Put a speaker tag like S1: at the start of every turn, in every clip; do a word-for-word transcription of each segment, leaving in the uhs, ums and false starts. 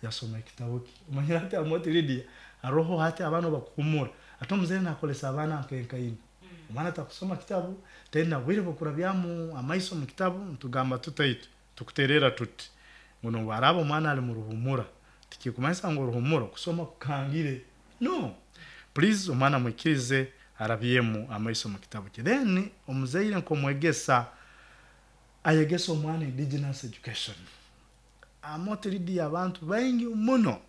S1: Yasoma ekitabo kye. Omanyire hati Amooti Lydia, haroho hati abaana obu bakuhumura, ate omuzaire nakolesa abaana nkenkaina. Omwana takusoma kitabu, taina bwire bw'okurabyamu amaiso mu kitabu. Ntugamba tuta itwe? Tukuteererra tuti ngu nobu araaba omwana ali muruhumura, tikikumanyisa ngu oruhumura kusoma kukangire. No, please, omwana mwikirize arabyemu amaiso mu kitabu kye. Then omuzaire nk'omwegesa ayegese omwana indigenous education. Amooti Lydia, abantu baingi muno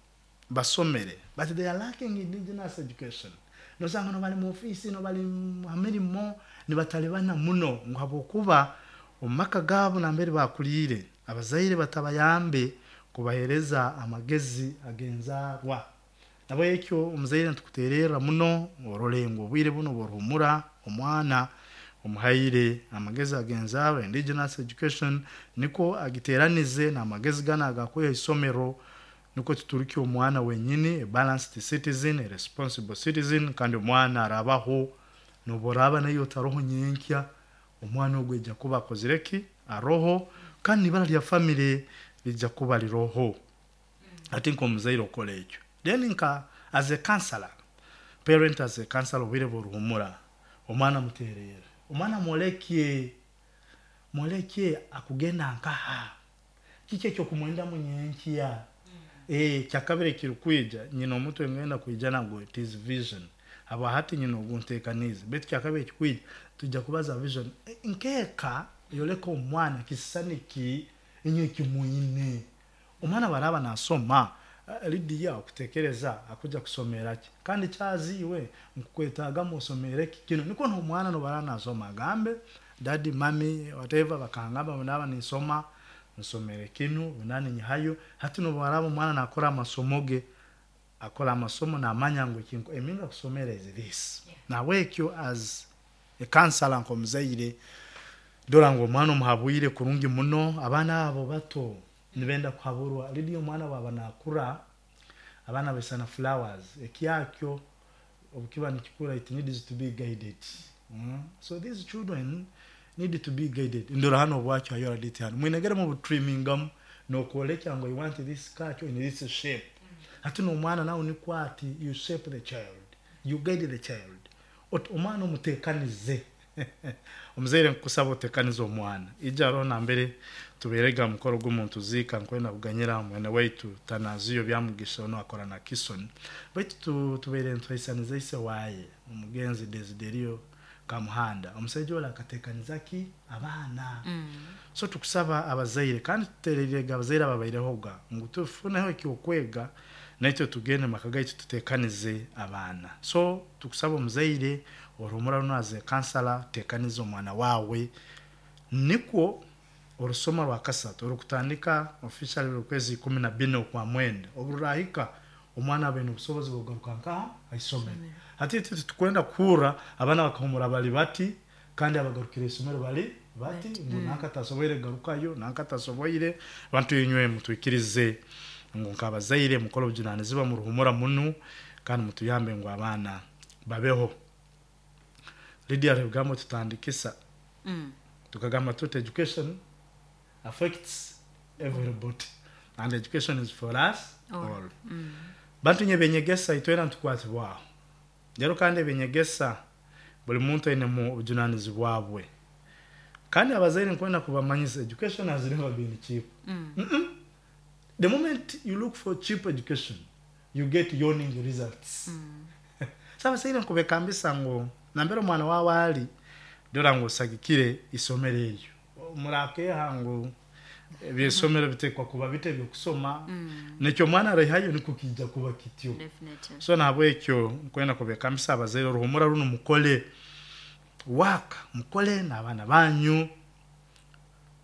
S1: basomere, but they are lacking indigenous education. Nosanga nobali mu ofiisi, nobali ha mirimo, nibatalibana muno ngu habwokuba omu maka gaabo nambere baakuliire, abazaire batabayambe kubaheereza amagezi ag'enzaarwa. Nahabwekyo omuzaire ntukuteererra muno orole ngu obwire bunu obw'oruhumura, omwana omuhaire amagezi ag'enzaarwa, indigenous education, nikwo agiteeranize n'amagezi ganu agakwiha ha isomero, nukwo tuturukye omwana wenyini a balanced citizen, a responsible citizen. Kandi omwana arabaho nobu oraaba naiwe otaroho nyenkya, omwana ogu aija kuba akozire ki? Aroho, kandi n'ibara lya family liija kuba liroho. Hati nk'omuzaire okora ekyo. Then nka as a counselor, parent as a counselor, obwire bw'oruhumura omwana muteererre, omwana mwolekye mwolekye akugenda nkaha, kiki ekyokumwendamu nyenkya. Ekyakabiri ekirukwija, nyina omutwe ngenda kwija nagwo, it is vision. Habwa hati nyina ogunteekaniize, baitu kyakabiri ekikwija twija kubaza vision. Nk'eka yoleka omwana kisisani ki inywe ekimwine. Omwana obu araaba naasoma, Lydia, okuteekereza akujya kusomera ki? Kandi kyazi iwe nkukwetaagamu osomere ki kinu, nikwo n'omwana n'obu araaba naasoma agambe, "Daddy, mummy, whatever, bakangamba obu ndaaba ninsoma nsomere kinu, obu ndaaba ninyihayo." Hati n'obu araaba omwana naakora amasomo ge, akora amasomo naamanya ngu ekinkwenda kusomera is this. Nahabwekyo as a counselor, nk'omuzaire, dora ngu omwana omuhabwire kurungi muno. Abaana abo bato nibenda kuhaburwa. Lydia, omwana obu aba naakura, abaana baisana flowers, ekyakyo obu kiba nikikura, it needs to be guided. So these children need to be guided. Ndora hanu obwakyo hayo hanu mwinegere mubutrimingamu nokwolekya ngu "I want this kakyo in this shape." Hati n'omwana nawe nikwo ati, you shape the child, you guide the child. Omwana omuteekanize. Omuzaire nkukusaba oteekanize omwana. Ija haroho nambere tubeerege ha mukoro gumu ntuziika, nkwenda kuganyira mwene waitu Tanaziyo Byamugisha, onu akora na Kison, baitu tubaire nituhaisaniza ise waaye omugenzi Desiderio Kamuhanda. Omusaija oli akateekaniza ki abaana. So tukusaba abazaire, kandi tuteereriirege abazaire ababairehoga ngu tufuneho ekyokwega, naitwe tugende mumaka gaitu tuteekanize abaana. So tukusaba omuzaire oruhumura runu, as a counselor, teekaniza omwana waawe, nikwo orusoma rwakasatu orukutandika officially okwezi ikumi na bina okwa mwenda obu rurahika, omwana abe n'obusobozi bw'okugaruka nkaha? Haisomero. Hati itwe titukwenda kuhurra abaana bakahumura bali bati, kandi abagarukire isomero bali bati, ngu nanka tasoboire kugarukayo, nanka tasoboire. Bantu inywe mutwikirize ngu nk'abazaire mukole obujunanizibwa muruhumura munu, kandi mutuyambe ngu abaana babeho. Lydia, hariho ebigambo tutandikisa, tukagamba tuti education affects everybody and education is for us all. Bantu inywe, ebyenyegesa itwena nitukwatibwaho rero, kandi ebyenyegesa buli muntu ainemu obujunanizibwa bwe. Kandi abazaire nkwenda kubamanyisa, education has never been cheap. mm -mm. The moment you look for cheap education, you get yawning results. mm. So abazaire nkubekambisa ngu nambere omwana wawe ali, dora ngu osagikire isomero eryo. Murakeha ngu ebyesomero bitekwa kuba bita ebyokusoma, nekyo omwana araihayo nikwo kiija kuba kityo. So nahabwekyo nkwenda kubekambisa abazaire, oruhumura runu mukole work, mukole n'abaana banyu,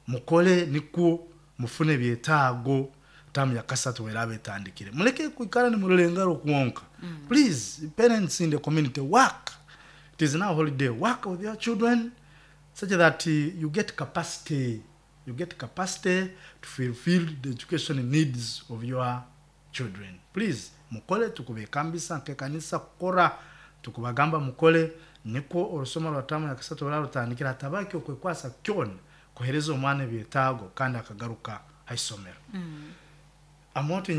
S1: mukole nikwo mufune ebyetaago. Tamu ya kasatu weraba etandikire, muleke kwikara nimurora engaro kwonka. Please, parents in the community, work. It is now holiday. Work with your children such that you get capacity you get capacity to fulfill the education needs of your children. Please mukole. Tukubekambisa nk'ekanisa kukora, tukubagamba mukole, nikwo orusoma rwa tamu ya kasatu oraba rutandikire, hatabaki okwekwasa kyona kuheereza omwana ebyetaago kandi akagaruka ha isomero. mm. Amooti.